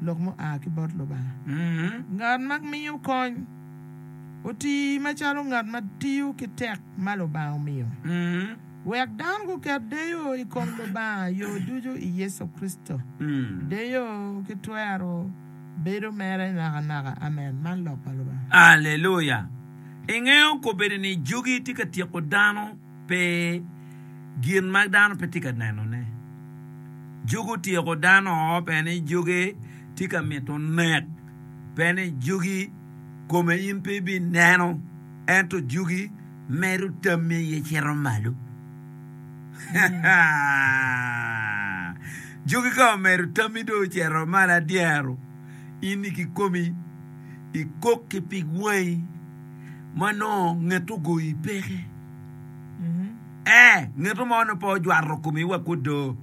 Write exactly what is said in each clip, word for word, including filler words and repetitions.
Lok mua ki bot Lubanga. Ngat ma miyo kony oti macalo ngat ma tiyo ki tek ma Lubanga omiyo. Wek dano guket deyo i kom Lubanga yo ducu i Yecu Kricito. Deyo ki twero bedo mere nakanaka. Amen. Man lok pa Lubanga. Aleluya! Ingeyo kobedo ni jogi tye ka tyeko dano pe gin ma dano pe tye ka nenone. Jogi otyeko dano pe ni jogi tye ka mito nek, pe ni jogi kome in pe ibineno, ento jogi medo tammi aye cito malo. Jogi ka omedo tammi dong ocito malo adyero, in kikomi ikok ki pig wangi ma nongo nget ogoyi peke. Ee, ngeto mo nongo pe ojwato komi wa ki odo,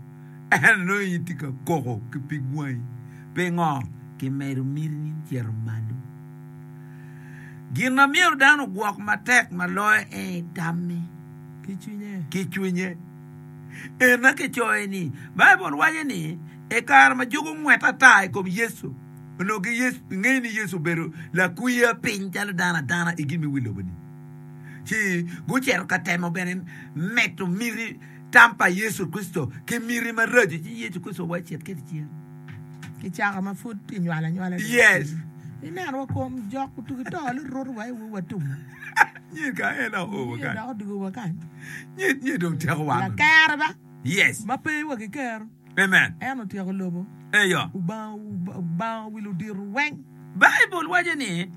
ento nongo in itye ka koko ki pig wangi. Pingo? Kimedo mitini cito malo. Gin ma myero dano ogwok matek ma loyo en tamme ki cwinye. Ena kicoyo ni, Baibul waco ni i kare ma jogo ongwet ata i kom Yecu, onongo gingeyo ni Yecu obedo lakwiya piny calo dano adana i gin me wi lobo-ni. Ci gucito ka temo bene medo miti tam pa Yecu Kricito ki miti maraco, ci Yecu Kricito owaco cit kede cen. Kicaka ma pud kinywalo anywala dong. Yes. Ineno wa kom jok otugi to liruto wa i wa tumu. Nyen ka en oo wa Nyen kany. dok odugo wa kany. Nyen nyen dong tyeko wan. Lakere ba. Yes. Ma pe wa ki kero. Amen. En otyeko lobo. Eyo. Obango obango wi ludito weng. Baibul waco ni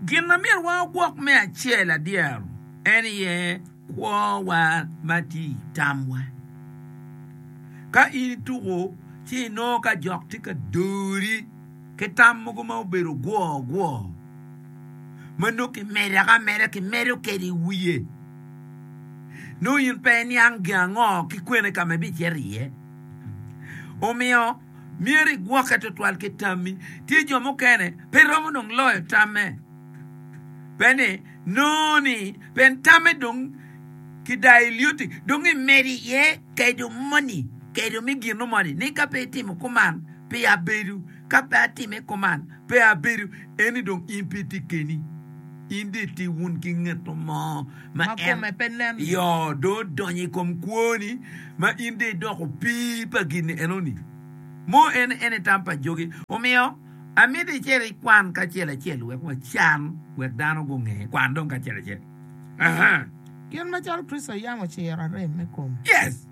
gin ma myero wa ogwok me acel adyero en aye kwowa ma tye i tamwa. Ka in ituko ci inongo ka jok tye ka dori ki tam mogo ma obedo gwo gwo ma nongo kimedo ameda kimedo kwede i wiye nongo in pe iniang gin ango ki kwene ka ma ibicito iye. Omiyo myero igwokke tutwal ki tammi. Tye jo mukene pe romo dong loyo tamme pe ni nongo ni pien tamme dong ki dailioti dong imedo iye kedo moni kedo me gino moni ni ka pe itimo kuman pe abedo ka pe atime kuman pe abedo eni dong in pe itye keni in dong itye wun ki ngeto mo ma Ma en kome pe nen. yo dong odonyo i kom kwoni ma in dong idoko opii pa gin enoni mo en en i tam pa jogi omiyo amito icit ikwan kacel acel wek wacan wek dano gunge kwan dong kacel acel. Aha. Kit macalo Kricito yam ociro arem me kom. Yes.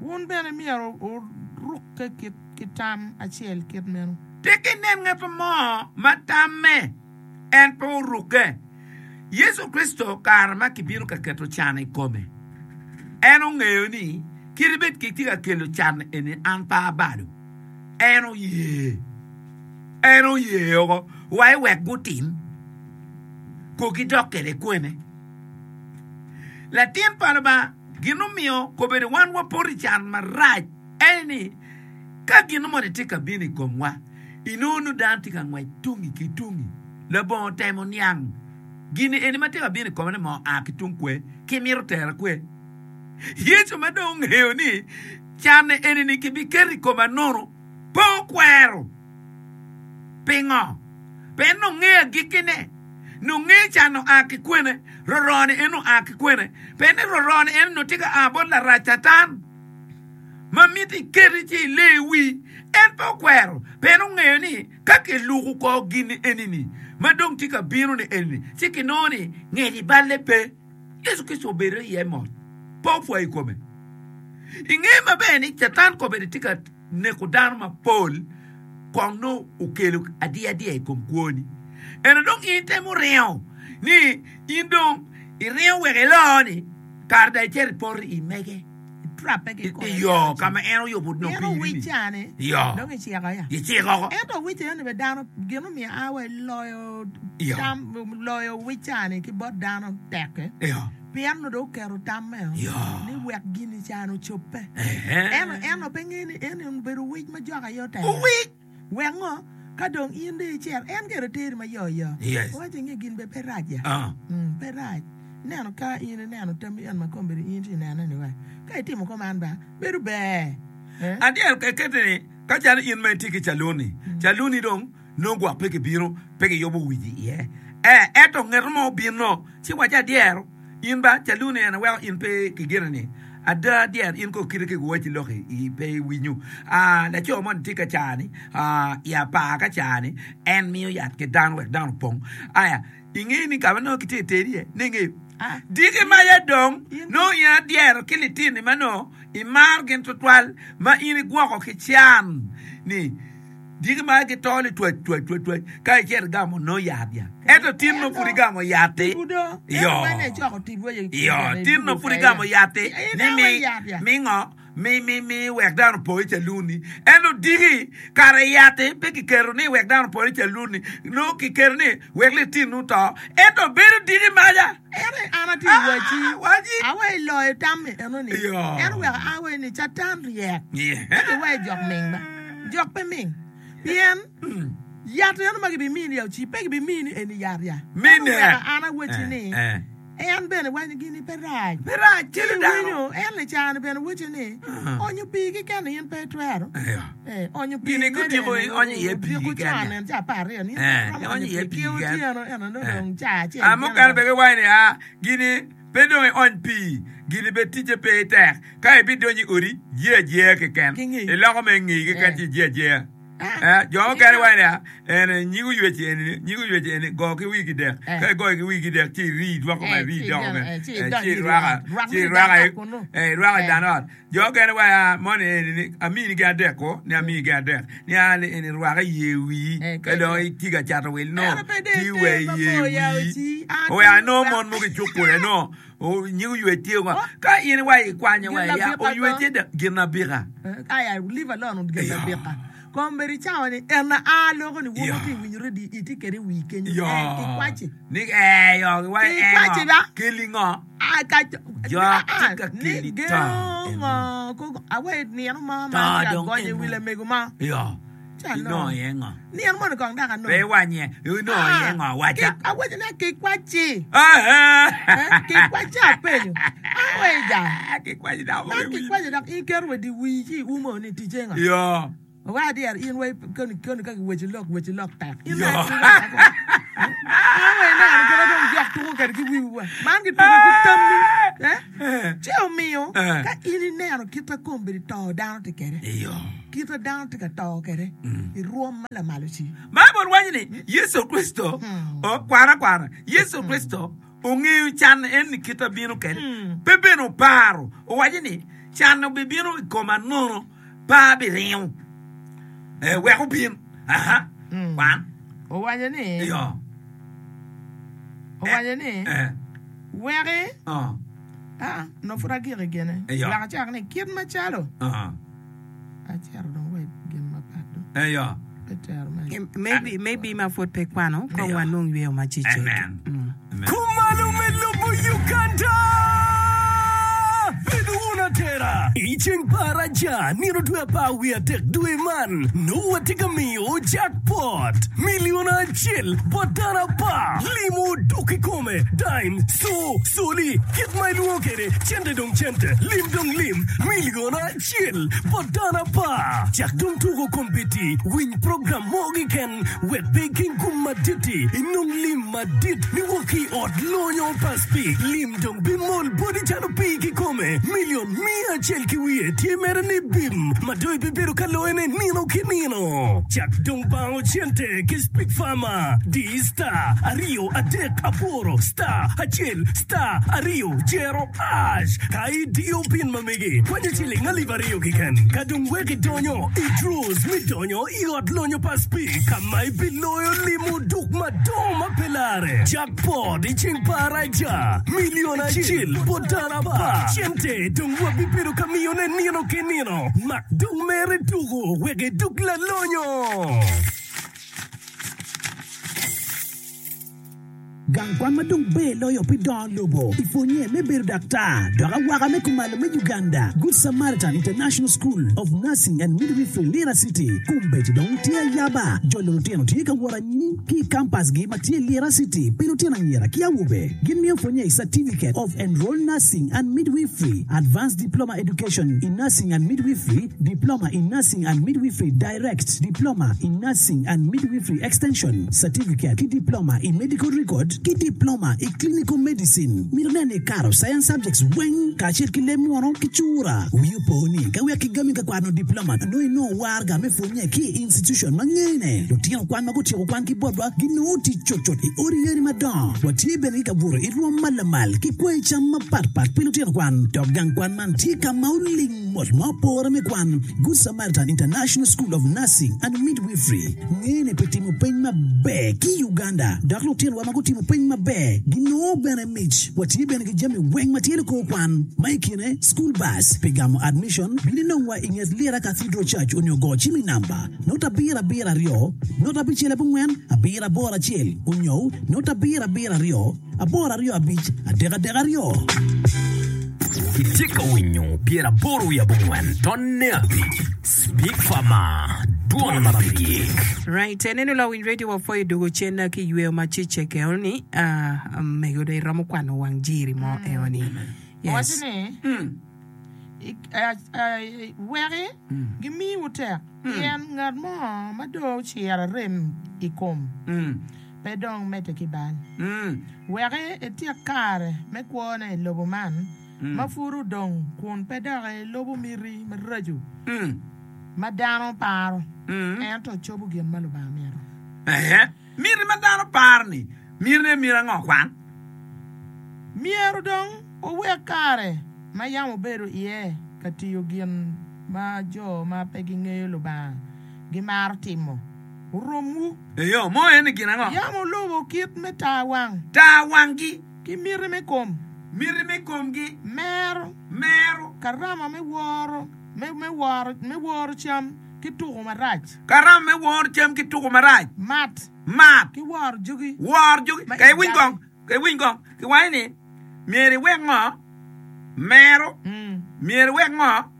Wun bene myero wurukke ki tam acel kit meno. Tek inen ngat mo ma tamme en pe orukke. Yecu Kricito kare ma kibino ka keto can i kome, en ongeyo ni kadi bed kitye ka kelo can eni an pe abalo. En oye. En oye oko wa iwek gutim. Ko gidok kwede kwene. Latin pa Lubanga, gin omiyo kobedo wan wapoto i can marac en ni, ka gin moni tye ka bino i komwa, inongo nongo dano tye ka ngwec tungi ki tungi labongo temo niang gin eni ma tye ka bino i kome-ni ma oa ki tung kwe ki mito tera kwe. Yecu ma dong ongeyo ni can eni-ni kibiketo i koma nono, pe okwero. Pingo? Pien nongo ngeyo agikkine. Nongo ngeyo can oa ki kwene, rorone en oa ki kwene. Pien ni rorone en onongo tye ka a bot Larac Catan, ma miti iketi ci ile i wi. En pe okwero, pien ongeyo ni ka kiluko kor gin eni-ni ma dong tye ka bino-ni eni-ni, ci kinongo ni ngec i balle pe. Yecu Kricito obedo iye mot, pe opwoyo i kome. Ingeyo maber ni Catan kobedo tye ka neko dano mapol kong nongo okelo adiya diya i kom kwoni. Ento dong in itemo ringo ni in dong iringo wek ilo-ni kare dong icito ipoto i mege Itrappe ki kome iyo ka ma en oyubo Pien nongo piri-ni. owicca-ni Iyo. dong iciko ya. Iciko oko. Ento owicca eno bene dano gin omiyo a wa iloyo Iyo. tam loyo owicca-ni ki bot dano tekke. Iyo. Pien onongo dong oketo tammeo Iyo. ni wek gin-ni can ocobbe. Ehe. Ento en onongo pe ngeyo ni en obedo owic ma jok aye otelo. Owic. Wek ngo? Ka dong in dong icito, en gire teri ma yo yo. Yes. Owaco ni gin bene pe rac ya. Ah. Mm, pe rac. Ineno ka in ineno tammi en ma kombeddi in itye nene ni wa. Ka itimo kuman ba, bedo ber. Eh? Adyero kekete ni Ka calo in ma itye ki caluni, caluni dong nongo gwok pe kibino, pe kiyubo wic iye. Ee, ento nget mo obino, ci waco adyero, in ba caluni en weko in pe kigine ni, ada adyero in ko kite ki giwacci lok i pe iwinyo. Aa, laco moni tye ka cani, aa, i apar ka cani, en miyo yat ki dano wek dano opong. Aya, ingeyo ni ka ma nongo kitye ka teri iye, ni ingeyo. Diki maca dong, nongo in adyero ki litini ma nongo imaro gin twatwal, ma in igwoko ki can ni diki ma gito litwac twac twac twac ka icito igamo nongo yat ya. Ento tin nongo pud igamo yat-ti, iyo, iyo, tin nongo pud igamo yat-ti ni mi, mi ngo? Mi, mi, mi wek dano opo i caluni. Ento diki kare yat-ti pe kiketo ni wek dano opo i caluni, nongo kiketo ni wek litini oto. Ento bedo diki maca. Ento an atye i wacci, Ah, wacci. awe iloyo tammi enoni. Iyo. En oweko an awaci ni Catan ryek. Yeah. Ento iwaci jok ming ba. Jok pe ming. Pien yat eno ma gibimini ya oci pe gibimini eni yat ya. En Mine. oweko an awaci Eh, ni eh. en bene waco ni gini pe rac. Pe rac, Ci kelo dano. iwinyo en licani bene waco ni onyo pii keken in pe itwero. Iyo. Eh, onyo pii Gini mere kutiko eno onyo iye pii odiko keken con ya. en ca apar aryo ni in Eh, pe iromo onyo onyo iye pii pii ki keken. otyeno eno nongo Eh. dong ca acel Ah, keken mukene dong. bene giwaco ni, ah, gini pe dong iony pii, gini bene ticce pe tek. Ka ibidonyo i odi, jee ajeya keken. Ki ngeyi. Iloko me ngeyi keken Eh. ci ijee ajeya. Ah, Eh, jo mukene waco ni, ah, en nyig oywec eni, nyig oywec eni, go ki wii kidek. Eh. Ka igoyo ki wii kidek, ci irii, dwoko Eh, ma irii ci doko ideno, me. eh, ci Eh, idony ci iri irwaka, ot. Rwak ci mi irwaka dan i- ot kunu. eh, irwaka i Eh. dan ot. Jo mukene waco, ah, moni eni ni, amini gi adek ko, ni amini gi adek. Ni ah, ni eni rwaka i yer wii. Eh, Ka dong itye ka cato wil no, Ento pe dong ti iter wa i yer mabor ya wii. oci. Ah, Oya, ti anongo wa- mon mogo i cuk kule, no, o, nyig oywec tye ngo. Ka in iwaco ikwanyo Gin wa ya, abika oywec ko. tye da, gin abika. Eh, Aya, leave alone gin Iyo. abika. Kombeddi cawa ni en a loko ni Iyo. woto ki winyo redi iti kede i wii kenyo. Yo. Eh, kikwaci. Ni eh yo, giwaco eh Kikwaci ngo. ba. Keli ngo. Ah, ka Jo, ah, tye ka ni keli to. geno ngo koko awe nino mo To ma tye dong agonyo i eno. wi lamego mo. Yo. Ca no. Inongo iye ngo. Nino mo ni kong dok anongo. Pe iwanye. Inongo iye ngo waca. Ki- Awaco ni kikwaci. Ah, Eh, Kikwaci apenyo. Awe ja. Kikwaci dok Man kikwaci dok in keto wa di wii ci iumo ni ticce ngo. Yo. Wa adier in wai koni koni ka giweco lok weco lok tek. In Yo. wai awe neno kite dong jok tuko kede ki wiwa. Man gituko ki tammi. Eh? Ci omiyo Eh. ka in ineno kit ma kombeddi to dano tye kede. Iyo. Kit ma dano tye ka to kede i rwom ma lamalo ci. Baibul waco ni Yecu Kricito o, kwana kwana Yecu Kricito ongeyo can en ni kite bino kede pe bene oparo owaco ni can obibino i koma nono pa abiringo eh, wek obin aha kwan Owaco ni iyo owaco ni eh, weki oh, ah no pud agiko gene. Iyo. Wek acak ni kit macalo oh, acito dong wa i gin mapat dong. iyo Pe tero me. Maybe, maybe ma pud pe kwano, kong Iyo. wanong yweyo macecek. Amen. Mm. Amen. Kumalo me lubo Uganda! Bedo wun atera! I ceng paraja nino dwe apar wiye adek dwe man, nongo watye ka miyo jackpot milion acel bot dano apar. Limo duk i kome, dime, so, soli, kit ma ilwongo kede, cente dong cente, lim dong lim, milion acel bot dano apar. Cak dong tuko kombeddi, winy program mo keken, wek pe iking gum madit-ti, inong lim madit niwok ki i ot lonyo pa Speke. Lim dong bimol boti calo pii kikome, milion mia acel ki wiye tye mere ni bim, ma dong ibibedo ka loyone nino ki nino. Cak dong bango cente ki Speke Farmer. Di star aryo adek aboro star acel star aryo jero hash. Ka idiyo pin ma megi, kwanyo ciling alip aryo keken. Ka dong wek idonyo i draws mi donyo i ot lonyo pa Speke, ka ma ibiloyo limo duk madongo ma pe lare. Jackpot i ceng paraja, milion acel bot dano apar. Cente dong wabibedo ka miyone nino ki nino. Mak dong mere tuko wek iduk lalonyo. Gang kwan ma dong ber loyo pi dongo lobo i pwonye me bedo daktar dok awaka me kumalo me Uganda Good Samaritan International School of Nursing and Midwifery Lira City kombeddi dong tye ayaba jolo lutino tye ka wot anyim ki i kampasgi ma tye Lira City pi lutino anyira ki awobe. Gin miyo pwonye i Certificate of Enrolled Nursing and Midwifery, Advanced Diploma Education in Nursing and Midwifery, Diploma in Nursing and Midwifery Direct, Diploma in Nursing and Midwifery Extension, Certificate ki Diploma i Medical Record ki Diploma i Clinical Medicine. Mito neno ni ikato Science Subjects weng kacel ki leb munu ki cura. Wi opo ni ka wek kigami ka kwano diploma nongo inongo waraga me pwonye ki i institution ma ngene. Lutino kwan ma gutyeko kwan ki botwa ginongo tic cutcut i odi yadi madongo. Watye bene ki kabuto i rwom ma lamal ki kweyo cam mapatpat pi lutino kwan. Dok gang kwan man tye ka ma oling mot ma opore me kwan. Good Samaritan International School of Nursing and Midwifery ngene pi timo peny maber ki i Uganda dok lutinowa ma gutimo peny maber ginongo bene mic. Watye bene ki jami weng ma tye likor kwan ma i kine school bus pi gamo admission bin inongwa i nget Lira Cathedral Church onyo go cim i namba not abiro abiro aryo not abicel abongwen abiro aboro acel onyo not abiro abiro aryo aboro aryo abic adek adek aryo. Itye ka winyo pyeraboro wiye abongwen tonne abic Speak Farmer, Dwon ma pe gik. Right, eneno lawiny radio wapwoyo dugo cen ki yweyo ma ciceke eno-ni, ah, mego dong iromo kwano wang jiri mo eno-ni. Owaco Yes. ni, I- eh, eh, Weki gimiwu tek, pien ngat mo ma dong ociro arem i kom pe dong medde ki bal. Weki etyek kare me kwone i lobo man ma pud odong kun pe dok elubo miti maraco ma dano paro, ento cobo gin ma Lubanga mito. Ehe, miti ma dano paro-ni, mitine miti ango kwan? Myero dong wuwek kare ma yam wubedo iye ka tiyo gin ma jo ma pe gingeyo Lubanga gimaro timo, oromwu. Eyo, mo en ni gin ango? Yam wulubo kit me tar wang. Tar wanggi. Ki miti me kom. Miti me komgi. Mero. Mero. Karama me woro, me, me woro, me woro cam ki tuko marac. Karama me woro cam ki tuko marac. Mat. Mat. Ki woro jogi. Woro jogi. Ma Ka iwiny ijagi. kong, ka iwiny kong, kiwaco ni myero iwek ngo? Mero. Mm. Myero iwek ngo?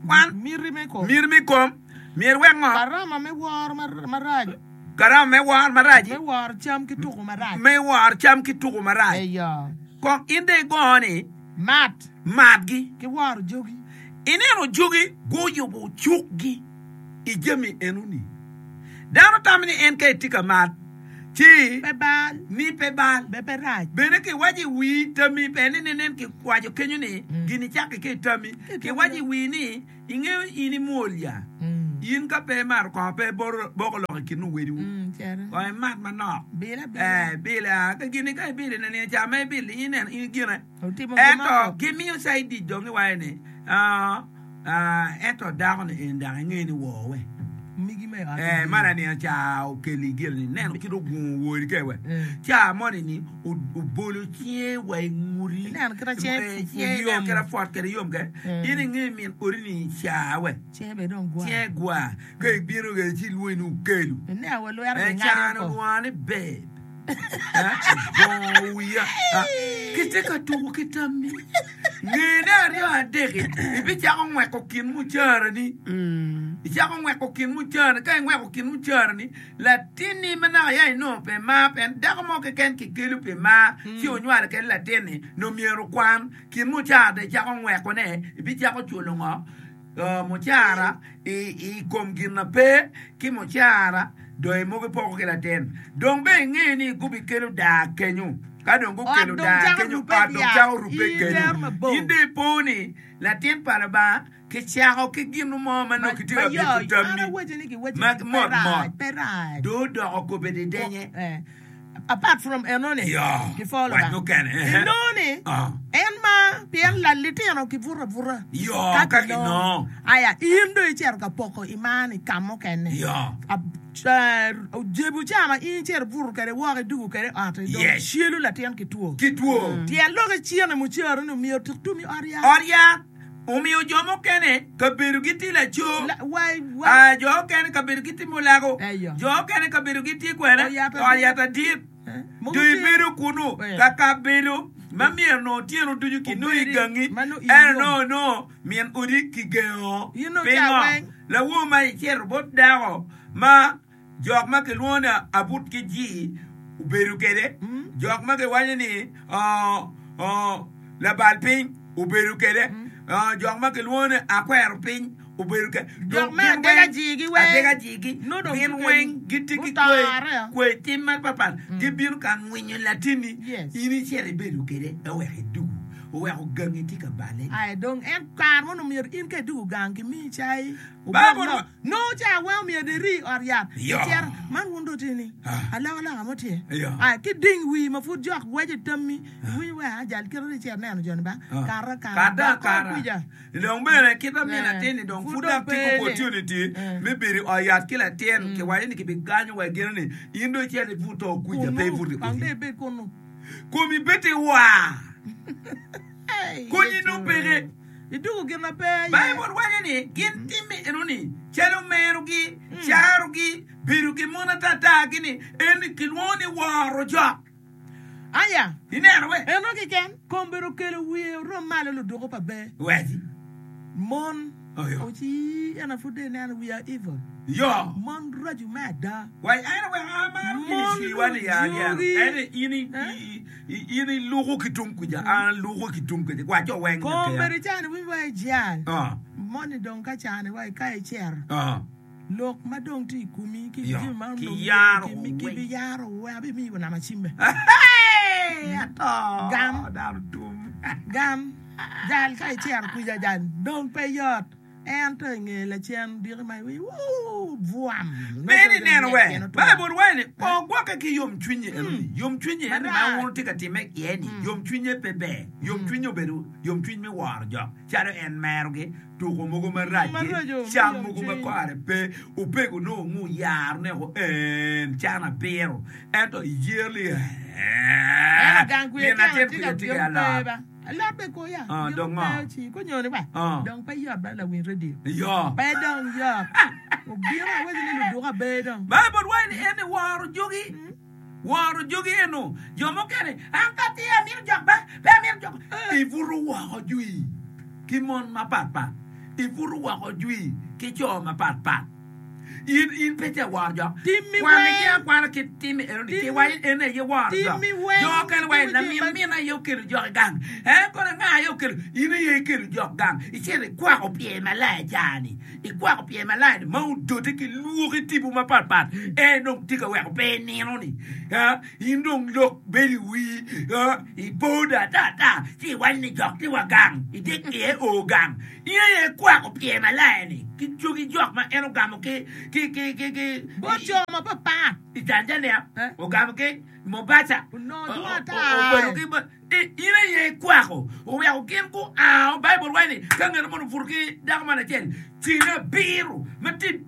Kwan. Miti me kom. Miti me kom. Myero iwek ngo? Karama me woro mar- marac. Karama me woro marac. Me woro cam ki tuko marac. Me woro cam ki tuko marac. Eyo. Kong in dong igo ni. Mat. Matgi. Ki woro jogi. Ineno jogi guyubo cukgi i jami enoni. Dano tamo ni en ka etye ka mat, ci Pe bal. ni pe bal. Be pe rac. Bene kiwaco i wii tammi, pe ni nenen kiwaco kenyo ni gin icakke ki i tammi. Kiwaco i wii ni ingeyo in imwol ya. In ka pe imato kongo pe iboko lok i kin owediwu. Kong imat manok. Bil abila. Eh, bil a ka gini ka ibilo nino ca ma ibilo in ineno in gine. Otimo gin Ento mo. gimiyo side dic dong giwaco ni ah, ah, ento dako-ni eni dok inge ni wor we. Migi me ot. Eh, ma lanino ca okeli gire ni neno kit ogungo wori ke we. Mm. Ca moni ni o- obolo cinge wa i nguti. Ineno kit a cinge Eh, fu- fu cinge ineno yom. kit a fwot kede yom ke. Mm. In inge min odi ni ca we. Cinge bene dong gwa. Cinge gwa. Ka ibino ke ci ilwongi ni okelu. Ineno wa lwero Eh, gingado can ko. olwonga ni babe. Eh, obongo wiya. Ah, Kitye ka tuko ki tammi. Ngene aryo adek-ki, ibicako ngweko kin mucarani. Icako ngweko kin mucarani. Ka ingweko kin mucarani, latinni ma naka ya inongo pi mar, pien dako mo keken kikelo pi mar, ci onywalo kede latinni, nongo myero okwan. Kin mucara dong icako ngwekone, ibicako culo ngo? Uh, mucara i, i kom gin na pe ki mucara dong imogo ipoko ki latin. Dong bene inge ni gubikelo daa kenyo. Ka dong gukelo Ot dong daa cako kenyo, rubbe ot dong dyang. cako rubbe In kenyo. tero mabor. In dong ipo ni latin pa Lubanga kicako ki gin mo ma nongo kitye ka Ma yo, bito an tammi awaco ni giwaco ma ni pe mot rac, mot. pe rac. Dong odoko kobedo idenye. Eh, apart from enoni, Yo, gipwo wac Lubanga. mukene, eh. Enoni, Ah. en ma pien la litino kibuto abuta. Yo, Ka ka kinongo. kinongo. Aya, in dong icito ka poko i mar-ni ka mukene. Yo. Ab- eh, Ojebu ca ma in icito ibuto kede woko idugo kede ot, dong Yes. celo latin ki two. Ki two. Tyen lok icene mucero-ni omyero tik tum i ot yat. Ot yat omiyo jo mukene kabedo gitye laco. La- wai- wai- Ah, jo okene kabedo gitye mulago. Eyo. Jo okene kabedo gitye kwene. Ot yat Ot yat adit. Do ibedo kunu ka kabedo ma myero nongo otyeno ducu kinongo i gangi, ento nongo nongo min odi kigengo. Pingo? Lawor ma icito bot dako ma jok ma kilwongo ni abut ki jii obedo kwede, jok ma giwaco ni labal piny obedo kwede, jok ma kilwongo ni akwero piny obedo kwede. Jok me adega jigi weng, adega jigi gin weng gitye ki kwe kwe tim mapatpat, gibino ka ngwinyo latinni, in icito ibedo kwede oweko idugu, oweko gangi tye ka bale. Aye dong en kare mono myero in ka idugu gang kimiyi cai Baibul nongo ca weng omyero iri i ot yat icito man wun dong tye ni alokaloka mo tye aye ki ding wii ma pud jok gweco i tammi iwinyo wek ajal kite ni icito neno joni ba kara kara dok kor kwica dong bene kit ma min latin-ni dong pud dok tye ki opportunity me bedo i ot yat ki latin kiwaco ni kibiganyo wa gino ni in dong icito ibut to kwica pe ibuto i odi komi bed tye war konyi nongo peke. Idwogo gin ma pe aye. Baibul waco ni gin timme enoni calo merogi, carogi, bedo ki mon atata-gi-ni, eni kilwongo ni woro jok. Aya, Ineno we? eno keken, kom bedo okelo wiye orom malo luduku pa ber. Weci. Mon, Oyo. oci ena pud dong ineno we are evil. Yo. Mon racu me ada. Wai en wek amaro Mon ministry-wa ni ya dyero. lujogi. Ento in i- i- i- in iluko ki tung kuca, an aluko ki tung kuca. Wa jo weng Kom nyo bedo icani winyo wa ijal. Ah. Moni dong ka cani wa ka icero. Ah. Lok ma dong tye i komi ki Yo, jami ma ki onongo yaro ki mi- weng. ki biyaro weng abimiyi wa nama cimme. Hey, ato. Gam. Dano tum. Gam. Jal ka icero kwica jal dong pe yot. Ento i nge lacen diki ma iwinyo wuu bwam. Bed ineno we. Baibul waco ni ogwokke ki yomcwinye enoni. Yomcwinye eni ma wun wutye ka timme iye-ni, yomcwinye pe ber. Yomcwinye obedo yomcwiny me woro jok, calo en merogi, tuko mogo marac-gi, cam mogo ma kore pe, opego nongo ngu yaro neko en can abiro, ento iyer li Ento gang kwica min latin tye kwica ka tye ki bino alot. pe ba. Alot be koya. Ah, Gin dong pe ngo? oci. Konyoni ba. Ah. Dong pe yot ba lawiny radio. Yo. Pe dong yot. Obino awaco ni luduka be dong. Baibul waco ni en ni woro jogi. Woro jogi eno. Jo mukene, an ka tye amito jok ba, pe amito jok. Ibuto woko jwi ki mon mapatpat. Ibuto woko jwi ki co mapatpat. In in pe tye woro jok. Timmi Kwanni ki weng. akwana ki timmi eno ni Timmi- kiwaco en aye woro jok. Timmi weng. Jo okene waco Timmi lamin jami ma- min aye okelo jok i gang. En kono anga aye okelo? In aye ikelo jok gang. Icito ikwako pyer malaya ca-ni. Ikwako pyer malaya-ni ma odote ki lwoki tipo mapatpat. En dong tye ka weko pe inino ni. Ah, in dong lok bedo i wii. Ah, ipo do ata ata ci iwaco ni jok tye wa gang. Idek iye o gang. In aye ikwako pyer malaya-ni ki cogi jok ma en ogamo ki ki ki ki ki Bot co mapapat. i Tanzania, Eh? ogamo ki Mombasa, Onongo o- dwong o- ata. obedo ki ba- i- in aye ikwako oweko gin guao. Baibul waco ni ka ngat mo obuto ki dako man acel, ceng abiro ma tye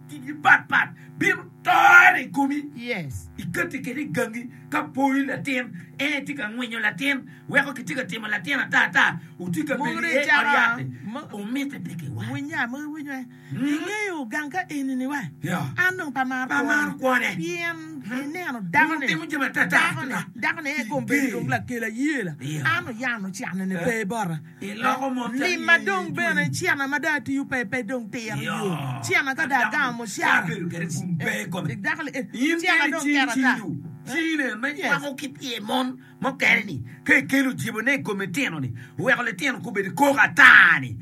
patpat bino tore i komi. Yes. Ikati kwede i gangi ka poyi latin, en tye ka ngwinyo latin, weko kitye ka timo latin ata ata, otye ka Mogo bedo iye dong ot yat-ti, mo- omitte pe kiwaco. Winya, mogo iwinyo eh. Ingeyo gang ka eni-ni wa. Ya. An dong pe amaro Pe amaro kwone. kwone. Pien ineno dako-ni. Timo jami ata ata. Dako-ni, dako-ni en kom bedo dong lakel ayela. Ya. An oyano cane-ni pe bota. Iloko mon calo Lim ma in dong ijweny. bene cena ma dong atiyo pe pe dong tiro Ya. yo. Cena ka dong agamo mucara. Abedo kwede kun pe i kome. Eh, dako-ni, eh, In cena bene dong cing keto ata. cinyu. Cine me Yes. nywako ki pye mon mukene-ni ka ikelo jibone i kom litino-ni, oweko litino gubedo koko ata-ni,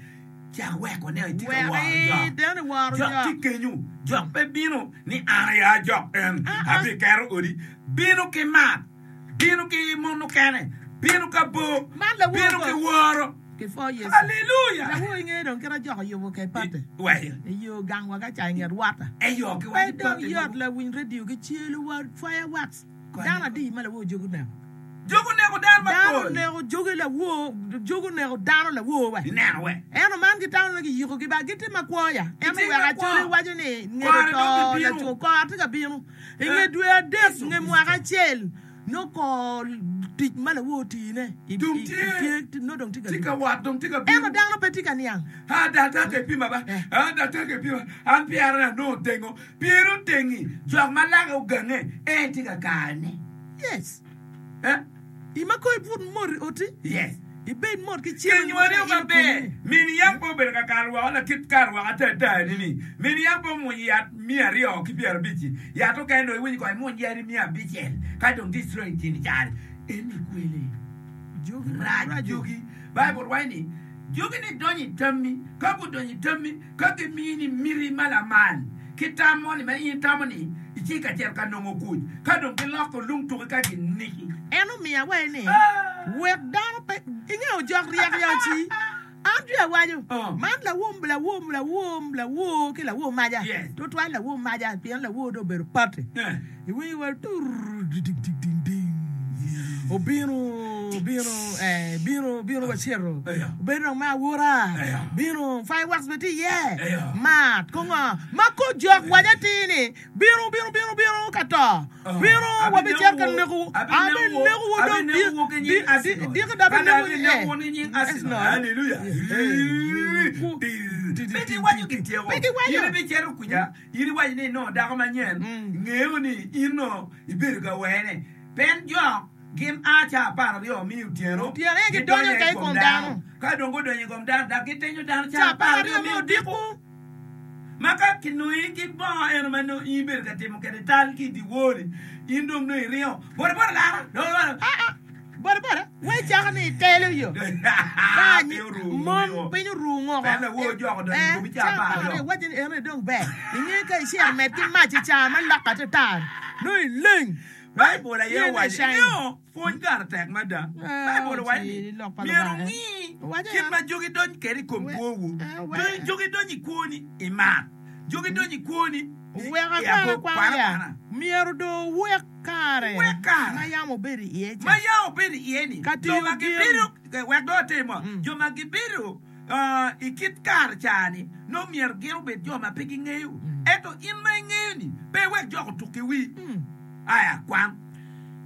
cak wekone itye ka woro Wek jok. deno iworo Jok jok. tye kenyu, jok pe bino ni an aye a jok en, abiketo odi. Bino ki mat, bino ki mon mukene, bino ka bor, Man lawor bino ki ko. woro. Ki four years. Haleluya! Lawor inge dong kit a jok oyubo ke pate. Wai, Iyo gang wa ka ca i nget wata. eyo ki Pe waco dong pate yot mogo. lawiny radio ki celo wa fireworks. Dano adi ma lawor jogo neko. Jogo neko dano Dano mapol. neko jogi lawor, jogo neko dano lawor we. Ineno we. Ento man gitamo ni giyiko gi ba gitye makwo ya. Ento Gitye wek makwo. acoli waco ni ngeto Kore to dong gibino. laco kor tye ka bino. I nge Eh. dwe adek nge mwaka acel nongo kor tic ma lawor tine i- Dong i- tye. i- tye nongo dong tye ka Tye ka bino. wat dong tye ka bino. Ento dano pe tye ka niang. Ah, daktar ke pima ba. Eh. Ah, daktar ke pima. An pyera na nongo otengo. Pyera otengi. Jok ma lake ogange, en tye ka kane. Yes. Eh? Ima ko ibut mot i oti. Yes. Ibed mot ki cen. Kinywali maber. Min yam pe obedo ka karo woko lakit karo woko atata ni. Min yam pe omwonyo yat miya aryo ki pyerabic-ci. Yat okene dong iwinyo kong imwony yadi miya abicel ka dong destroy tyen cari. Eni kwele. Jogi Rac maraco. jogi. Baibul waco ni jogi-ni donyo i tammi. Ka gudonyo i tammi, ka gimini miti ma lamal ki tam moni ma in itamo ni itye ka cito ka nongo kuc, ka dong giloko lung tuki ka giniki. En omiya wai ni, Ah! Wek dano pe ingeyo jok ryek ya ci. An tye awaco, Oh. man lawom, lawom, lawom, lawor ki lawor maca. Yes. Tutwal lawor maca, pien lawor dong obedo pati. Eh. Iwinyo wa tur ding ding ding ding. Obino, obino, eh, bino, bino wacito. Eyo. Obedo dong me awura. Eyo. Bino, fireworks bene tye iye. Eyo. Mat, kongo. Ma ko jok waco atir ni, bino, bino, bino, bino ka to. Bino, wabicito ka nekowu. Abinekowu dong di- di- di- diki dong abinekowu ni- eh. Arsenal. Hallelujah. Ku- Pe giwaco gityeko. Pe giwaco. In ibicito kuca, in iwaco ni inongo dako manyen, ngeyo ni in nongo ibedo ka wene. Pien jok gin a ca apar aryo me otyeno, Otyeno, eh, gidonyo gidonyo ka i i kom kom dano. dano. Ka dong gudonyo i kom dano, dok gitenyo dano ca Ca apar apar aryo aryo me me odiko. odiko. Ma ka kinongi ki bongo eno ma nongo in ibedo ka timo kwede tal ki i dyewor-ni, in dong nongo iringo. Boda boda lara! Boda boda! Ah, ah. Boda boda, wai cako ni itelo yo. Ka Piny oru mon ngoko. piny oru ngoko. Pien lawor jok odonyo i komi ca ca apar apar aryo. aryo, waco ni eno dong ber. Inge ka icito med ki mac i ca ma loka te tar. Nongo ileng. Baibul aye Yen owaco eshine. ni pwony kare tek mada. Eh, Baibul owaco ni ci lok pa myero Lubanga, eh. wungi Owaco kit ya. ma jogi dony kwede i kom We- kwowu. eh, we- Dony- Jogi donyo i kwoni i mat. Jogi donyo i kwoni i- Wek i akwana ago- kwana kwana ya. kwana. Myero dong wuwek kare Wuwek kare. ma yam obedo iye ca. Ma yam obedo iye-ni, Ka jo tiyo ma gin. gibedo, wek dong atim mo, jo ma gibedo ah, i kit kare ca-ni, nongo myero gin obed jo ma pe gingeyo. Ento in ma ingeyo-ni, pe iwek jok otuk ki wii. Aya, kwan.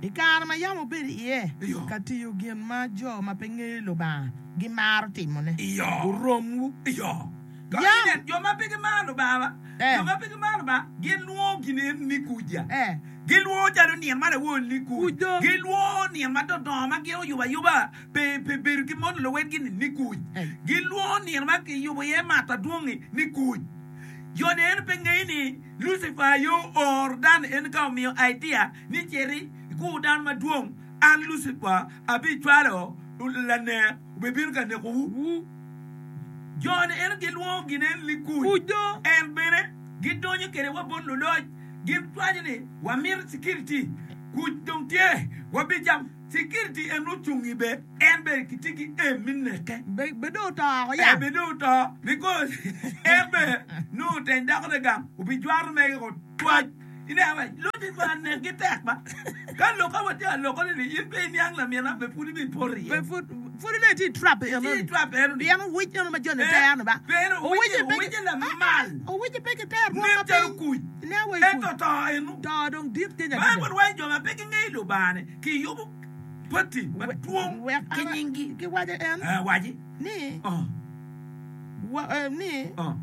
I kare ma yam obedo iye Iyo. ka tiyo gin ma jo ma pe ngeyo Lubanga gimaro timone. Iyo. Oromwu. Iyo. Ka Yam. inen, jo ma pe gimaro Lubanga, Eh. jo ma pe gimaro Lubanga, gilwongo gin en ni kuja. Eh. Gilwongo calo nino ma lawor ni kuc. Kuc do. Gilwongo nino ma dodongo ma gin oyubo ayuba pe pe bedo ki mon luwetgi ni ni kuc. Eh. Gilwongo nino ma kiyubo iye mato adwong-ngi ni kuc. Jo-ni en pe ngeyo ni Lucifer aye ooro dano en ka omiyo idea ni citi ikur dano madwong, an Lucifer abicwalo lanek obibino ka nekowu. Jo-ni en gilwongo gin en ni kuc. Kuc do. En bene gidonyo kwede wa bot luloc, gitwaco ni wamito security, kuc dong tye, wabicamo. Security en ocung i be, en bene kitye ki aim me neke. Be be dong oto oko Eh, ya. be dong oto, because en bene nongo oteny dakone gang, obijwato mege ko twac. Ineno ba, Lucifer nekgi tek ba. Ka lok ka watye ka lokone ni in pe iniang lamina, be pud ibipoto iye. Be pud pud ine tye i trap Tye i eno. trap eno ni. Pien owic eno ma joni Eh, tero ba. pien owic- owic lamal. Owic pe kitero rwom Nen ma calo piny. kuc. Nen wa i kuc. Ento to eno. To dong dit kenya Baibul waco jo ma pe gingeyo Lubanga-ni kiyubo pati madwong Wek ki an- nyinggi. Giwaco en Eh, waci. ni Oh, wa, eh, ni oh.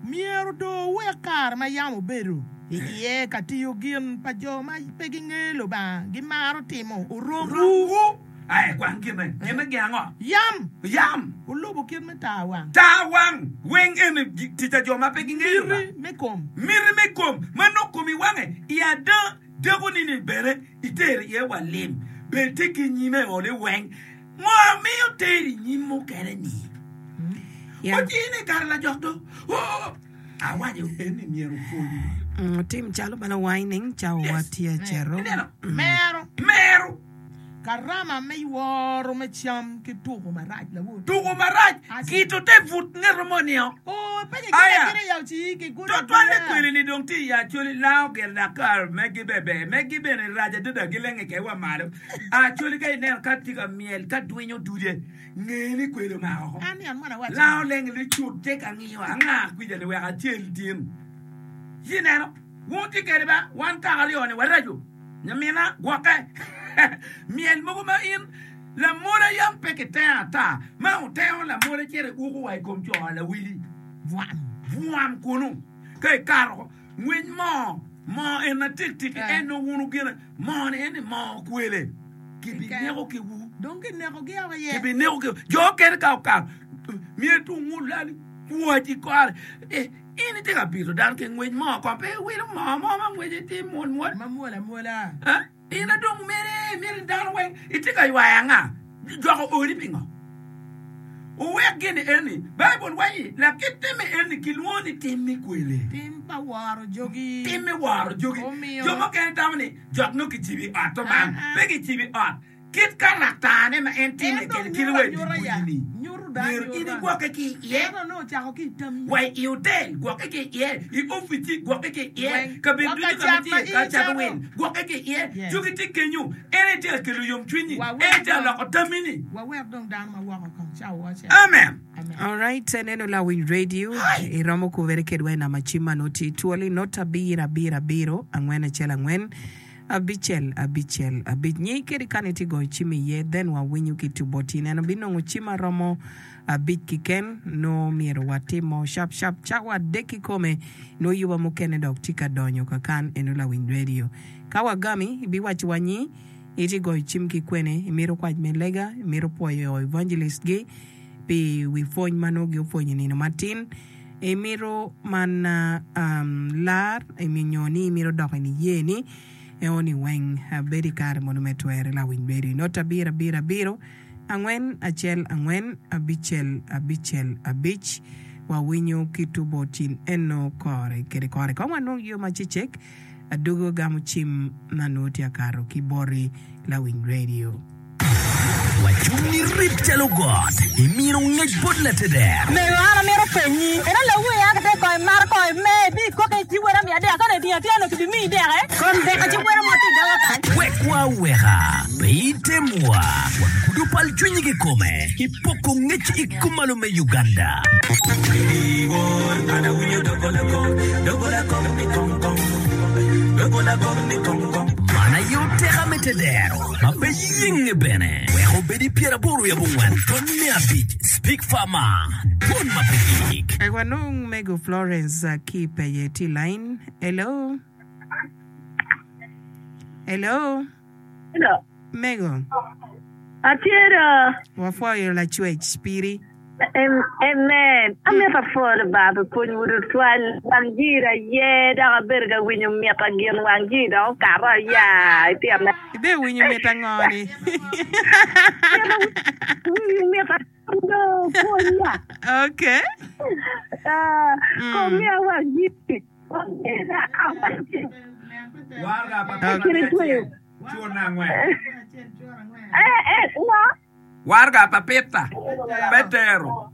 myero dong wuwek kare ma yam obedo i iye ka tiyo gin pa jo ma pe gingeyo Lubanga gimaro timo oromwu. Oromwu. Ai, kwan gine. Gine gin ango? Yam Yam. olubo kit me tar wang. Tar wang. Weng eni gi- tic a jo ma pe gingeyo Lubanga. Miti me kom. Miti me kom. Ma nongo komi wange i ada deko-ni ni bene itero iye wa lim. Bed tye ki nyime ole weng. Ngo miyo teri i nyim mukene-ni? Ya. Ocine kare lajok do. Oh, awaco en ni myero opwony. Mm, Tim calo bala wining cawa Yes. watye cero. Ineno? Mero. Mero. Karama me woro me cam ki tuko marac lawor. Tuko marac. Gito te but ngeto mo-nio. Oh, pe Aya. gigure gire yaw ci gigure Twatwalle agura. kweli ni dong tye i Acholi lao gire dakar megi bebe megi bene rac adada gilenge kede wa malo. Acholi ka ineno ka tye ka myel ka dwinyo dude nge ni kweli omako oko. An niang mwana waco. Lao lenge licut tye ka ngiyo anga kwica ni wek acel tin. Ci ineno wun tye kede ba wan kaka aryo ni waraco nyamina gwokke. Myel mogo ma in lamola yam pe kitengo ata ma otengo lamola cito iuko wa i kom co lawili. Bwam. Bwam kunu ka ikato ngwiny moo moo en atiktik Eh. en nongo wunu gine moo ni en ni moo kwele. Kibineko kiwu. Dong kinekogi woko iye. Kibineko kiwu. Jo okene ka okato, myero tung olal kwac i kore. Eh, in itye ka bito dano ki ngwec moo kong pe iwilo moo mo ma ngwece tye mwol mwol. Ma mwol amwola. Eh, in adong mere myero dano weng itye ka ywayo anga? Joko odi pingo? Wuwek gin eni. Baibul waco lakit timme eni kilwongo ni tim me kwele. Tim pa woro jogi. Tim me woro jogi. Omiyo. Jo mukene tamo ni jok nongo kicibo i ot to man. Pe kicibo i ot. Kit karaktane ma en timme En dong kwede kit nyuto wa i anyuta ya. dye Nyuto dong Myero in anyuta. igwokke ki iye. Ento nongo ocako ki i tammi. Wa i otel, gwokke ki iye. I opici, gwokke ki iye. Weng. Kabedo Wa ducu ka ka ma cat ma itye in ka cato icato. wil, gwokke ki iye. Yes. Jogi tye kenyo. En aye tye ka kelo yomcwiny-nyi. Wawek En aye tye ka dong loko tammi-ni. wawek dong dano ma woko kong ca owace. Amen. Amen. Alright, eneno lawiny radio Hai! iromo kubere kedwa i namba cim ma nongo tye twoli not abiro abiro abiro angwen acel angwen abicel abicel abic nyi kadi kany itye goyo cim iye then wawinyo ki tubo tye neno binongo cim maromo abic kiken nongo myero watimo shap shap cawa adek kikome nongo yuba mukene dok tye ka donyo kakan eno lawiny radio ka wagami ibiwaco wa nyi itye goyo cim ki kwene imito kwac me lega imito pwoyo evangelist gi pi wi pwony ma nongo gipwonyo i nino matin imito man um, lar nyo ni imito dok i niye ni eoni weng bedo i kare mono me twere lawiny bedo i not abiro abiro abiro angwen acel angwen abicel abicel abic wawinyo ki tubo tin eno kore kede kore kong wanong yo macecek adugo gamo cim ma nongo tye akato ki boti lawiny radio. Wacung ni rip calo got, imino ngec bot lateder. Mego an amito penyi, ento lawu ya ki te kong imato kong ime ibi ikoke ci wera miya dek kane tinga tinga nongo kibi miyi deke kom deka ci wera mo tye i doga kany. Wekwa aweka, pe itemwa, wagudo pal cwinyi kikome i poko ngec i kumalo me Uganda. Man aye oteka me tedero ma pe yenge bene wek obed i pyeraboro wiye abongwen ton me abic Speak Farmer dwon ma pe gik. Wek wanong mego Florence uh, ki peye tye i line. Hello. Hello. Hello. Mego. Atye do. Wapwoyo lacwec piri. Am- Amen. Amito apwoyo Lubanga pi pwony wu tutwal. Wang jiri aye dok abedo ka winyo mita gin wang jiri dok okato aya itino. Ibe winyo mita ngo ni? Winyo mita do pwonya. Okay. Ah, Mm. Komiya wang jiri. Wang jiri. Waraga pa Peter Kiri me tweyo. acel, cur me angwen. Eh, eh, ngo? Waraga pa Peter, Petero.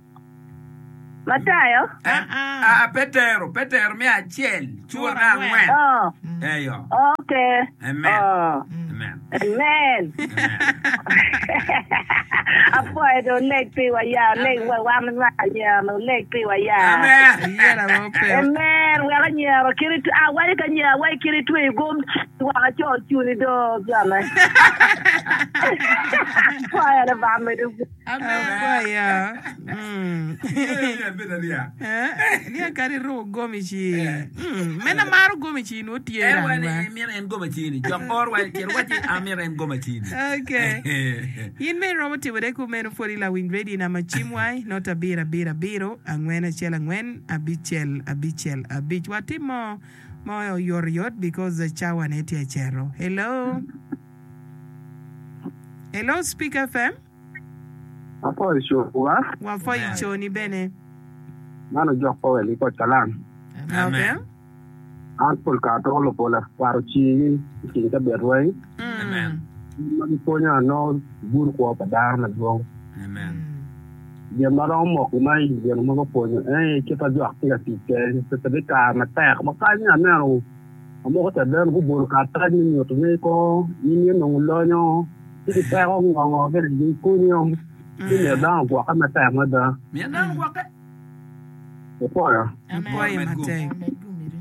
Matayo? Eh, Ah, ah. ah, Petero, Petero me acel, cur Cur me angwen. angwen. Oh, Eyo. okay. Amen. Oh. Amen. Amen. Amen. Apwoyo do oleg piwa ya, oleg wa wan ma anyira, oleg piwa ya. Amen. Yera ma ope. Amen. Wek anyira kiri awaco ka anyira awaco kiri tweyo gom waka co cuni do jone. Apwoyo Lubanga medo. Amen. Apwoyo. Mm. Yeah, yeah, yeah. Eh, Ni akadi ruko gomici. Mm. Mena maro gomici nwo tye En wa rangwa. ni mito en goma cini. Jok or wa cito waci amito en goma cini. Okay. In me iromo timone kumeno pwod i lawiny radio namba cim wai not abiro abiro abiro angwen acel angwen abicel abicel abic watimo mo oyotoyot because cawa ne tye acero. Hello. Hello Speak F M. Apwoyo cowa, Wapwoyo Amen. coni bene. Man ojok Powell i koc kalam. Okay. Amen. An pol kare atoko lupola kwaro cigi i kin cabit weng. Amen. Mm. Ma gipwonyo ano gudo kwo pa dano madwong. Amen. Gin ma romo moko ma i gin ma gupwonyo en aye kit ma jok tye ka tic kwede peke kare matek ma kany aneno amoko caden gubolo karatac me nyuto ni ko in inongo lonyo ci gipeko ngongo kede gikunyo ci myero dano ogwokke matek mada. Myero dano ogwokke. Opwoyo. Amen. Apwoyo Med gum. matek. Med gumiri.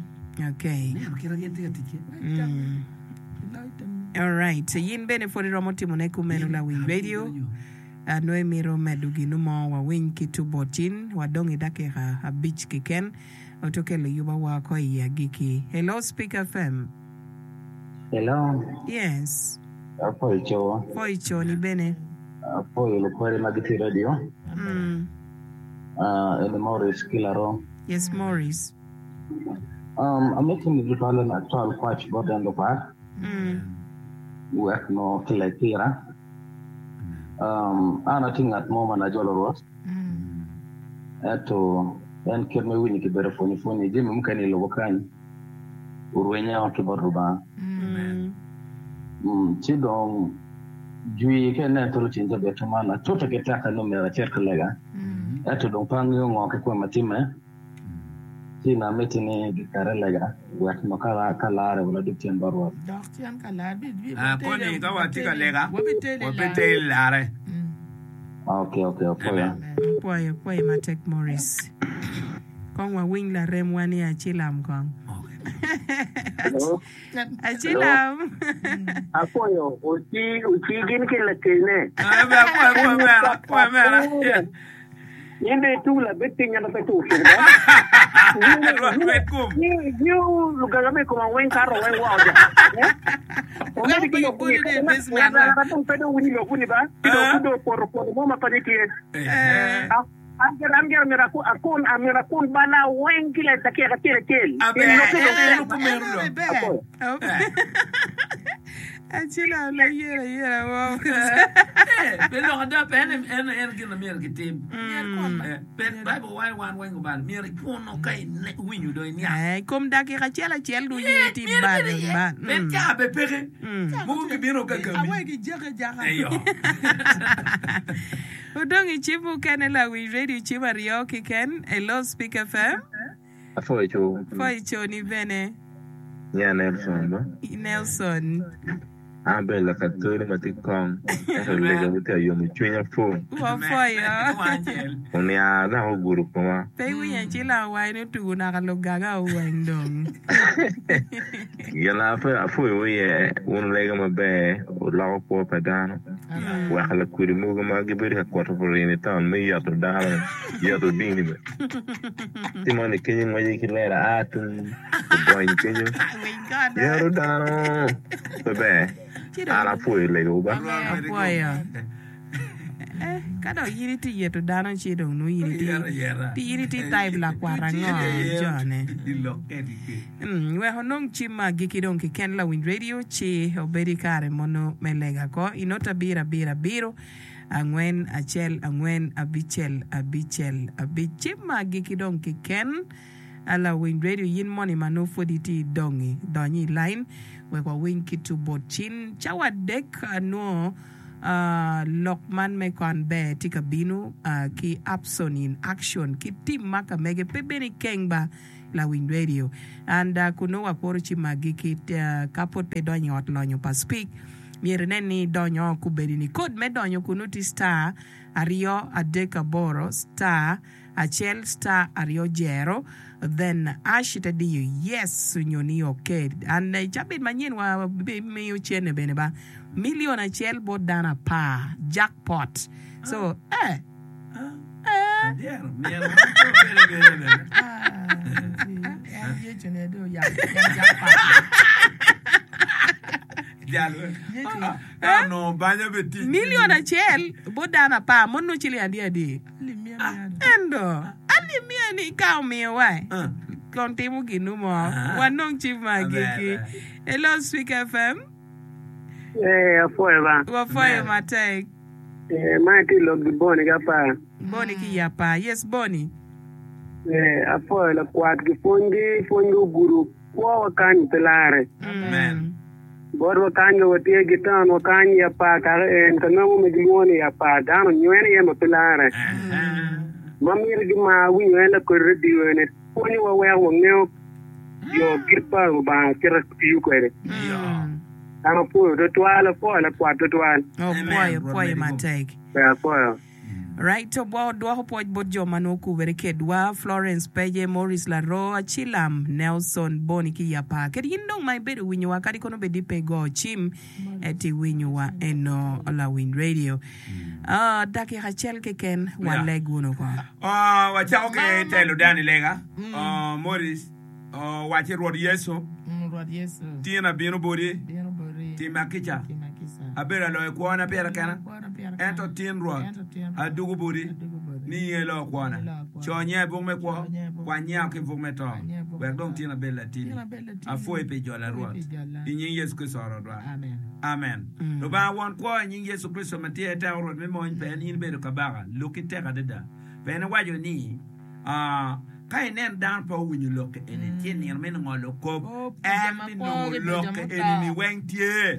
Okay. Neno kit ma gin tye ka tic kwede. Mm. All right. Yin bene pwod iromo timone kumeno lawiny radio. Nongo imito medo gino mo wawiny ki tubo tin wadong i dakika abic kiken oto kelo yuba woko i agiki. Hello Speak F M. Hello. Yes. Apwoyo co. Pwoyo co ni bene. Apwoyo lukwede ma gitye i radio. Mm. Uh, eni Maurice Kilaro. Yes, Maurice. Um, amito ni tutwal ni acwal kwac bot en lukwat. Mm. Wek no kileg pira. Um, an atye ngat mo ma najolo Rwot. Ento en kit ma iwinyo kibedo pwonyo pwonyo jami mukene i lobo kany orwenyo ki bot Lubanga. Mm. Mm, ci dong jwi ka inen toro ceng cabit man atute ki teka ni myero acit ka lega. Ento dong pe angeyo ngo ki kwema timme. Ci na miti ni gikete lega wek no ka ka lare wek adug cen bot Rwot. Dok cen ka lar bi bi Ah, koni ka watye ka lega, wabiteli wabiteli lare. Okay, okay, apwoyo. Amen. Pwoyo, pwoyo matek Maurice. Kong wawiny laremwa ni acilam kong. Hello. Acilam. Apwoyo oci oci gin ki lakene. Ah, be apwoyo, apwoyo mera, apwoyo mera. In dong itung labed piny ento pe tur cuk ba. Rwot wek kum. Ngiyo lugaga me koma weng kato weng woko ja. Omedi ki lok ni ngat angat dong pe dong winyo lok ni ba. Ci dong pud dong opoto poto mo ma paco tye. An gire an gire myero akun myero akun bala weng ki dakika acel acel. Aber Lokke dong en okumeno dong. Apwoyo. Acila layela yela mo. Eh, pe lok ada pe en en en gin ma myero kitim. Eh, pe Bible waco wan weng obalo myero ikuno ka iwinyo dong iniang. Eh, i kom dakika acel acel dong in Eh, itye myero balo ibed iye. ba. Pien Mm. caa be peke. Mm. Mogo gibino ka gami. Awe gijeke jaka. Eyo. Odong i cim mukene lawiny radio cim aryo kiken. Hello Speak F M. Apwoyo co. Pwoyo coni bene. Nya Nelson ba. Nelson. An abedo lakatoli ma tye kong, ento lega tye ka yomo cwinya pur. Wapwoyo. Oniang dok ogudo koma. Pe iwinyo acila owaco ni otugo naka lugaga oweng dong. Gin ma apwoyowu iye, wun wulega maber, wuloko kwo pa dano, weko lakwedi mogo ma gibedo ka kuto purin i taun me yeto dano, yeto dini bene. Ci moni kenyo ngwece ki lela a tung ogony kenyo, yeto dano pe ber. An apwoyo legowu ba. Apwoyo. Eh, ka dong in itye yeto dano ci dong nongo in itye in itye type lakwat ango jone. Mm, wek onong cim ma agikki dong kiken lawiny radio ci obed i kare mono me lega ko i nota abiro abiro abiro angwen acel angwen abicel abicel abic cim ma agikki dong kiken lawiny radio yin moni ma nongo pwod itye idongi donyo i line wek wawiny ki tu bot cin cawa adek nongo lok man me kwan ber tye ka bino ki Upson in Action ki tim ma ka mege pe bene ikeng ba lawiny radio and kun nongo wakuro ci magi ki ka pwod pe idonyo i ot lonyo pa Speak myero inen ni idonyo kubedi ni kod me donyo kunu tye star aryo adek aboro star acel star aryo jero then ash ite diyo yes onyo ni ok and i cabit manyen wa bimiyo cene bene ba million acel bot dano apar jackpot so eh eh Million acel bot dano apar mono nongo ciling adi adi? Ento alip miya ni ka omiyowa kon timo ginu mo wanong cim ma agikki. Hello Swik F M. Ee, apwoyo ba. Wapwoyo matek. Ee, man itye i lok gi Boni ki apar. Boni ki i apar. Yes Boni. Ee, apwoyo lakwat gi pwonygi, pwonygi ogudo kwowa kany pe larre. Botwa kany ka watye ki taunwa kany i apar kaka en ka nongo ma gilwongo ni i apar dano onywene iye ma pe larre. Ma mito gimar winyo en lakodi radio eni pwonyowa weko wangeyo yo kit pa Lubanga kite tiyo kwede. An apwoyo twatwal, apwoyo lakwat twatwal. Opwoyo, pwoyo matek. Ber apwoyo. Right, dwoko pwoc bot jo ma nongo okubere kedwa, Florence Peje, Maurice Laroo, Acilam, Nelson, Boni ki i apar. Kadi in dong ma ibedo winyowa kadi kono bed ni pe igo cim, ento iwinyowa eno lawiny radio. Ah, dakika acel keken waleg wunu ko. Ah, wacako ki telo dano i lega. Ah, Maurice owacci, Rwot Yecu, Rwot Yecu, tin abino boti, bino boti, tima kica. tima kica. Abedo aloyo kwona pira kena, ento tin Rwot, adugo boti ni in ilo kwona. Co nyinga i buk me kwo, kwany nyinga ki i buk me to, wek dong tin abed latini. Apwoyi pi jola Rwot, i nying Yecu Kricito Rwotwa. Amen. Lubanga Won Kwo, i nying Yecu Kricito ma tye teko Rwot me mony, pien in ibedo Kabaka, lokki tek adada. Pien iwaco ni, Ka inen dano pe owinyo lok eni, ci nino me ngolo kop, en binongo lok eni-ni weng tye.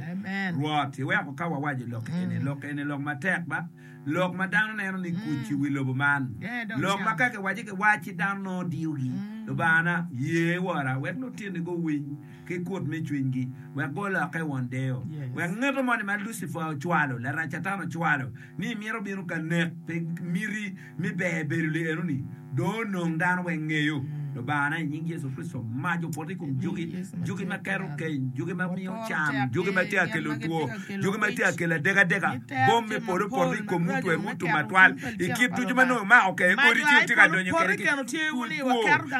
Rwot, iweko ka wawaco lok eni, lok eni lok matek ba, lok ma dano neno ni kuc i wi lobo man, lok ma ka kiwaco kiwac ci dano nongo diyogi. Lubangana, ye wora, wek lutinni guwiny ki kut me cwinygi, wek gulokke won deyo, wek ngeto moni ma Lucifer ocwalo, Larac Catan ocwalo, ni mito bino ka nek pi miti me ber bedo li enoni dong onong dano weng ngeyo Lubangana i nying Yecu Kricito mac opoto i kom jogi, jogi ma keto keny, jogi ma miyo can, jogi ma tye ka kelo two, jogi ma tye ka kelo adekadeka, bom me polo opoto i komwu twerwu otum matwal i kit ducu ma nongo imako kede odi ci wutye ka donyo kede ki kwo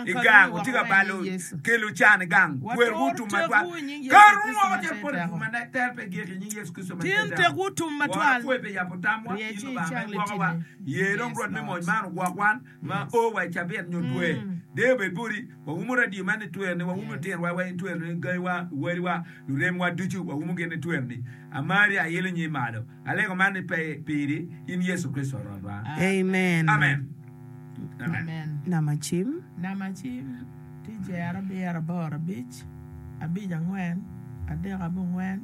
i gang wutye ka balo kelo can i gang twerwu otum matwal Keru woko calo poto i bur ma tere pe gik i nying Yecu Kricito ma tye Tin tek wutum Woro matwal. apwoyi pi yabo tamwa, Rye in ci Lubanga ma icang igwokowa. litini. Ye dong Yes, Rwot me mony Lord. man ogwok wan ma o wa i cabit nyo dwe. Deyo obed boti. Waumo radio man i twerni, waumo Yes. litinowa weng i twerni, gangiwa, wadiwa, luremwa ducu waumo gin i twerni. Amari, ailo nyim malo. Alego man ni pe piri, in Yecu Kricito Rwotwa. Amen. Amen. Amen. Amen. Nama cim. Nama cim tye jero abiro aboro abic abic angwen adek abongwen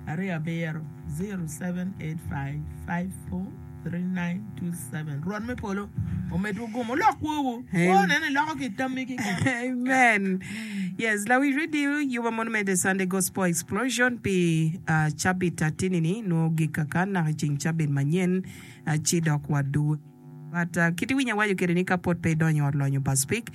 aryo abiro zero seven eight five five four three nine two seven Rwot me polo omedwu gum wulok kwowu kwo nene iloko ki tammi keken. Amen. Yes, lawic radio yuba mono me The Sunday Gospel Explosion pi uh, cabit atini-ni nwo gik kaka naka i ceng cabit manyen uh, ci dok wadugu. But uh, kit iwinyo awaco kede ni ka pwod pe idonyo i ot lonyo pa Speke,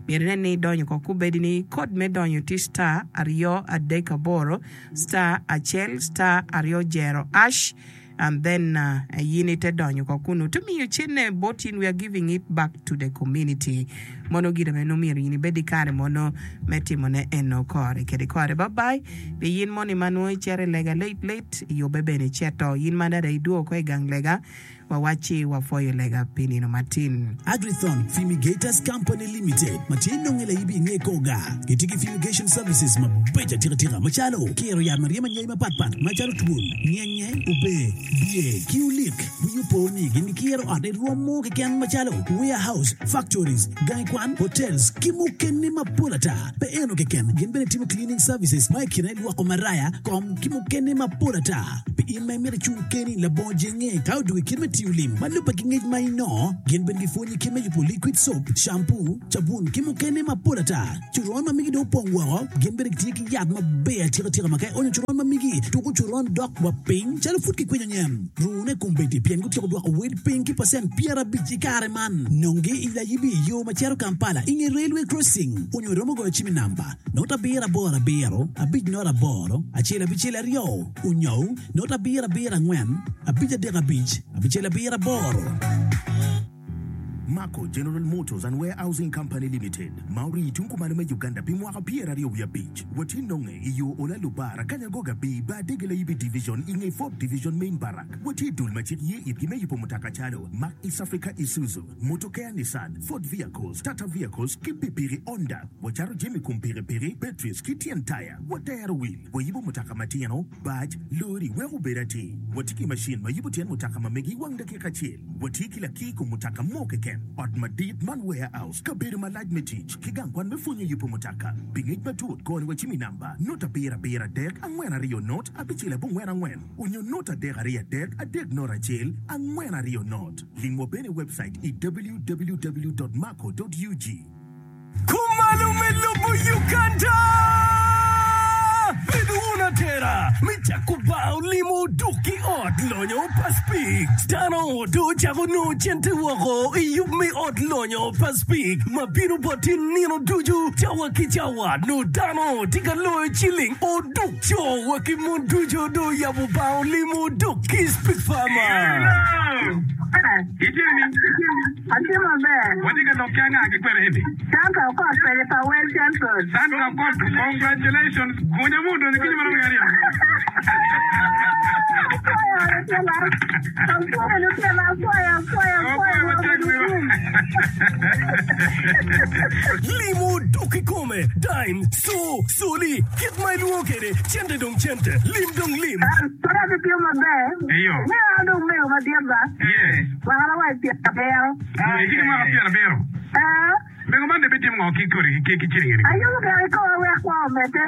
myero inen ni idonyo ko kubedi ni kod me donyo tye star aryo adek aboro star acel star aryo jero ash and then uh, yin ite donyo ko kunu to miyo cene bot in we are giving it back to the community mono gire meno myero yin ibed i kare mono me timone eno kore kede kore bye bye pi yin moni ma nongo icito i lega late late iyubbe bene iceto yin ma dada idwogo ko i gang lega Wawacci wapwoyo lega pi nino matin. Agrithon Fumigators Company Limited ma tye nonge laibi i nge kor gar gitye ki fumigation services mabeco atika tika macalo kiro yat ma ryemo anyai mapat pat macalo twol, nyenye, ober, bye ki olik. Wii opo ni gin gikiro ot i rwom mo keken macalo warehouse, factories, gangi kwan, hotels ki mukene mapol ata. Pe eno keken, gin bene timo cleaning services ma i kine lwoko maraya, kom ki mukene mapol ata. Pi in ma imito icung keni labongo jenge ka odwogo i kit me tiyo lim ma lubbe ki ngec ma inongo, gin bene gipwonyi kit me yubo liquid soap, shampoo, cabun ki mukene mapol ata. Coron ma migi dong opong woko, gin bene gitye ki yat maber atika tika ma ka ionyo coron ma migi, tuko coron dok wa piny calo pud kikwinyo nyen. Rune kombeddi pien gutyeko dwoko wel piny ki pacent pyerabic i kare man. Nongi i Layibi i yo ma cito Kampala i nge Railway Crossing onyo iromo goyo cim i namba not abiro aboro abiro abic not aboro acel abicel aryo onyo not abiro abiro angwen abic adek abic abicel abiro aboro. Mako General Motors and Warehousing Company Limited, ma orii tung kumalo me Uganda pi mwaka pyeraryo wiye abic, watye nonge i yo Ola Lubara, Kanyagoga B, Bar Dege Layibi Division i nge Fourth Division Main Barrack. Watye i dul ma cik ye itgi me yubo mutoka calo Mack East Africa Isuzu, Motokea Nissan, Ford Vehicles, Tata Vehicles ki pikipiki Honda. Wacato jami kom pikipiki, batteries ki tyen taya. Watero wil, wayibo mutoka matino, bac, lori wek obed atir. Watye ki macin ma yubo tyen mutoka ma megi i wang dakika acel. Watye ki lakir kom mutoka mo keken, ot madit man warehouse, kabedo malac me tic, ki gang kwan me pwonyo yubo mutoka. Pi ngec matut, goni wa cim i namba, not abiro abiro adek angwen aryo not abicel abongwen angwen onyo not adek aryo adek adek not acel angwen aryo not. Limwa bene i webcait i www dot mako dot ug. Kumalo me lobo Uganda! Bed wun atera me cako bar olimo oduk ki ot lonyo pa Speke. Dano dong ocako nongo cente woko i yub me ot lonyo pa Speke ma bino bot in nino ducu cawa ki cawa. Nongo dano tye ka loyo ciling oduk. Co wa ki mon ducu dong oyabo bar olimo oduk ki Speke Farmer. Atye maber. Watye ka lok ki anga ki kwene eni? Sandra Okot pede pa Wel Central. Sandra Okot, congratulations. Gunya mu odonyo kinyo marom ki aryo. Apwoyo lutino, apwoyo, apwoyo, apwoyo, obedo gum. Limo dok kikome, dime, co, coli, kit ma ilwongo kwede, cente dong cente, lim dong lim. Pud atye maber. Me an dong mego madit ba. Mwakana wa i pyerabiro. Itye ki mwaka pyerabiro? Ee. Mego man dong bitimo ngo ki kodi ki ciling eni? Ayubo gire ki koma wek kwo omedde.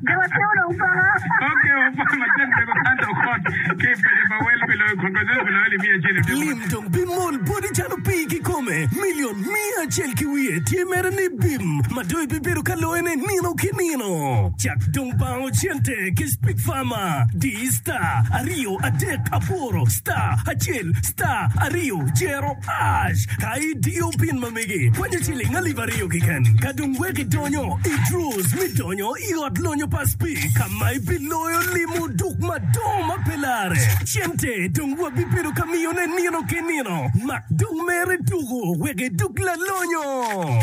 Jo matino dong paka. Ok, wapwoyo matek mego Santa Okot ki i paco pa wel pi loyo congratulations pi loyo alip miya acel i odiko. Lim dong bimol boti calo pii kikome. Milion miya acel ki wiye tye mere ni bim ma dong ibibedo ka loyone nino ki nino. Cak dong bango cente ki Speak Farmer. Di star aryo adek aboro star acel star aryo jero ash. Ka idiyo pin ma megi, kwanyo ciling alip aryo keken. Ka dong wek idonyo i draws me donyo i ot lonyo pa Speak ka ma ibiloyo limo duk madongo ma pe larre. Cente dong wabibedo ka miyone nino ki nino. Mak dong mere tuku wek idug lalonyo.